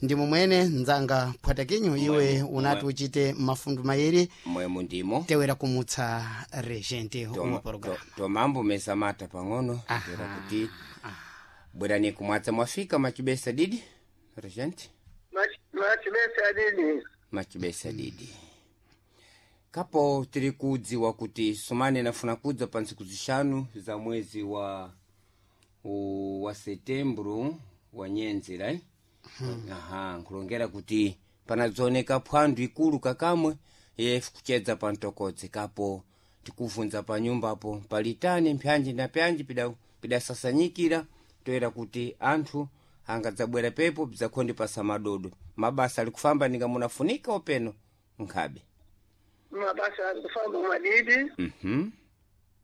Ndi mumwene nzanga phwatakinyo iwe unati uchite mafundu mayiri Mwemu ndimo. Tewera kumutsa regente wa programa. Tomambo mesa mata pang'ono tera kuti bwerani kumwatsa mwafika machibesa didi regente. Machibesa didi. Machibesa didi. Kapo tiri kudziwa kuti sumane nafuna kudza pa ntsiku zixanu za mwezi wa setembro wa nyenzera eh? Aha, nkulongera kuti panadzooneka phwandu ikulu kakamwe yefu kuchedza pa mtokodzi. Kapo tikuvunza pa nyumbapo palitani mpyanji na pyanji pidasasanyikira toera kuti anthu angadzabwera pepo bzakhondi pasa madodo. Mabasa ali kufamba ninga munafunika openo nkhabe. Mabasa akufamba madidi.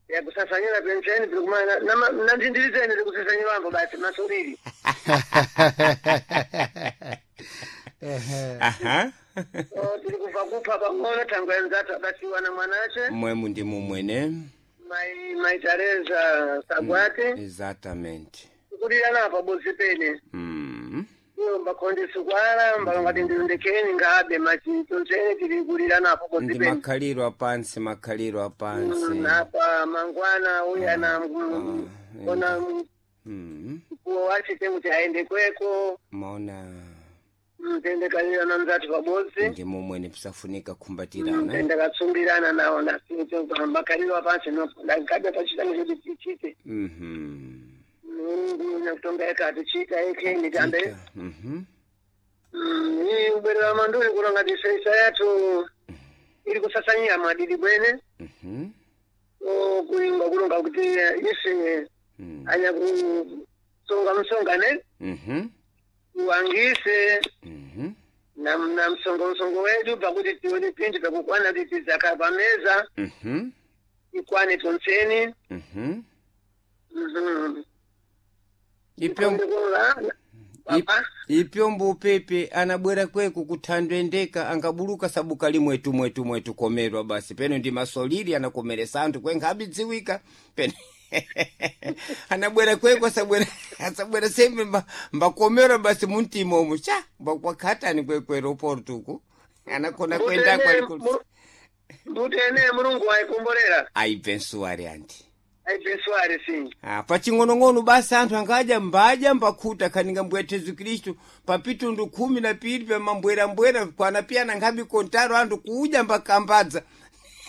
Yakusasanyira pensheni tirikumana nandindirizeni tikusasanyirwambo basi masuriri. Aha. Tiri kubva kupha pang'ono thangwe nzathu abasiwa na mwanache. Mwemu ndi mumwene. Mai Teresa Sagwate. Exatamente. Kulirana pabodzi pene. Iyo mbakhondesi kwala mbalongati ndilundekeni ngabe machitonzene tiri kulirana pabodzi Ndi pene. makhaliro apansi, makhaliro apansi. Napa mangwana uya na ona mkuwo wache kuti aende kweko. Maona. Tende kalira na mzati pabodzi. Ndi mumwene pisafunika kumbatirana. Tende katsumbirana nawo makaliro apansi ngabe pachitani kuti tichite. Mulungu nakutonga eka atichita ekeni tambe. Iyi ubwerera manduli kulonga tiseisa yathu iri kusasanyira mwadidi bwene. Kuimba kulonga kuti ise anyakusonga msongane uwangise na msongo msongo wedu pakuti tione pinthu pakukwana kuti tidzakhala pameza ikwane tonseni. Ipyo Papa. Ipyo mbupepe anabwera kweku kuthandwendeka angabuluka sabuka limwetu mwetu mwetu komerwa basi peno ndi masolili anakomeresa anthu kwenkhabe dziwika peno anabwera kweku asabwera sembe mbakomerwa basi muntima umu cha mbakwakhatani kwekwero portuku anakona kwendako aliko. Mbuti ene Mulungu wayikombolera. Aibvensuwari anti. Aibvensuwari si. Ah, paching'onong'ono basi anthu angadya mbadya mbakhuta khaninga mbwethe Yesu Khristu papitundu 12 pamambwerambwera kwana piyana nkhabi kontaro anthu kudya mbakambadza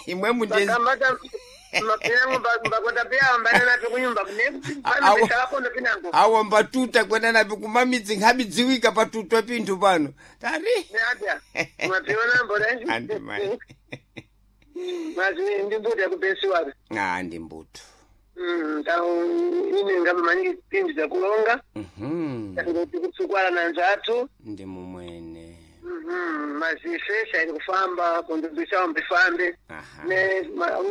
imwemu ndi. Bakambata mapinango mbakonda piya mbayana napi kunyumba Awa. kupano pinango. Awa mbatuta kwenda napi kumamidzi nkhabi dziwika patutwa pinthu pano tari. Neatya mapiona mbora. Anti mai. Mazi ndi mbuti yakupesiwari. Ah, ndi mbuto. Tau ine ngabe maningi pinthu zakulonga ngoti kutsukwala na nzathu. Ndi mumwene. Mazifesha iri kufamba kundubisa mbifambe. Aha. Ne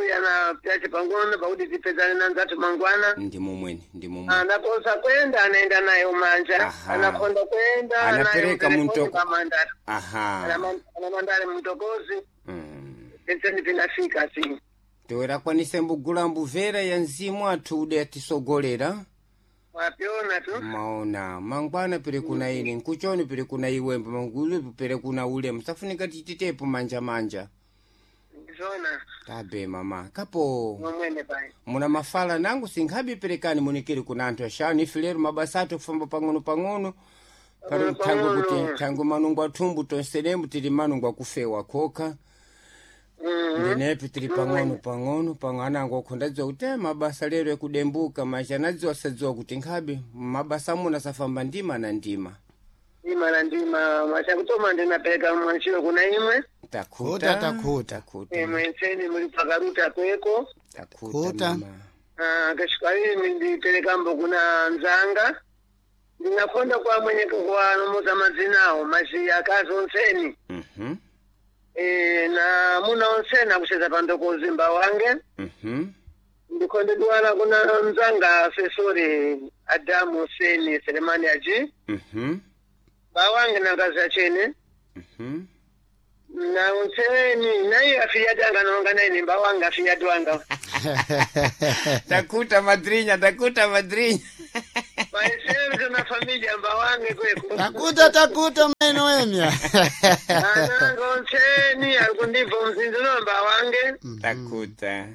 uya na pyache pang'ono pakuti tipedzane na nzathu mangwana. Ndi mumwene, ndi mumwene. Anakosa kwenda anaenda naye umanja. Aha. Anakonda kwenda Anapereka muntoko. Anamandare Aha. anamandare mtokozi. Penseni pinafika si. Toera kwanise mbugula mbuvera ya mzimu athu ude atisogolera. Wapiona tu. Maona mangwana pere kuna ine nkuchoni pere kuna iwembe mangulu pere kuna ule msafunika tititepo manja manja. Ndizona. Tabe mama kapo. Momwene pai. Muna mafala nangu sinkhabi perekani munikiri kuna anthu axanu ife lero mabasa athu kufamba pang'ono pang'ono pano Pang'ono thangu kuti pang'ono. thangu manungu athumbu tonsenembu tili manungu akufewa khokha. Ndinepi tili pang'ono pang'ono pang'ono anango akhondadziwa kuti mabasa lero ekudembuka macha anadziwa sadziwa kuti nkhabe mabasa amuna safamba ndima na ndima. Ndima na ndima machakutoma ndinapereka mwanchiro kuna imwe. Takhuta. Khuta, takhuta. Takhuta. Imwe nseni muli pakaruta kweko. Takhuta Khuta. mama. Kashika imi nditerekambo kuna nzanga ndinakonda kwa mwenye kuwanomoza madzinawo mazi akazi onseni. Na muna onseni akucheza pandokozi mba wange. Ndikonde duwala kuna mzanga asesori Adamu Seni Selemani aji mba wange na ngazi achene. Na onseni naye afiyatanga nonga naine mba wange afiyatwanga. Takuta madrinya, takuta madrinya. Pai Sergio na família mbawange kweko. Takuta takuta mai Noemia. Anango onseni ari kundibva mzinzi uno mbawange. Takuta.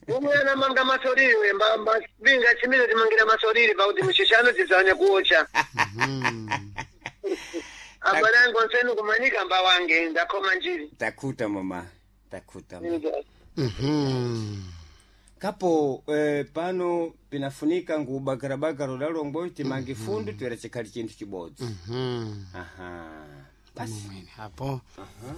Umwe anamanga masoriri we mbinga chimire timangira masoriri pakuti mushishano tidzanya kuocha. Abale angu onseni kumanyika mbawange ndakoma njiri. Takuta mama. Takuta. Kapo pano pinafunika ngubagarabagara ulalongo timange fundu twera chikhali chinthu chibodzi. Aha. Basi. Mwene hapo. Aha.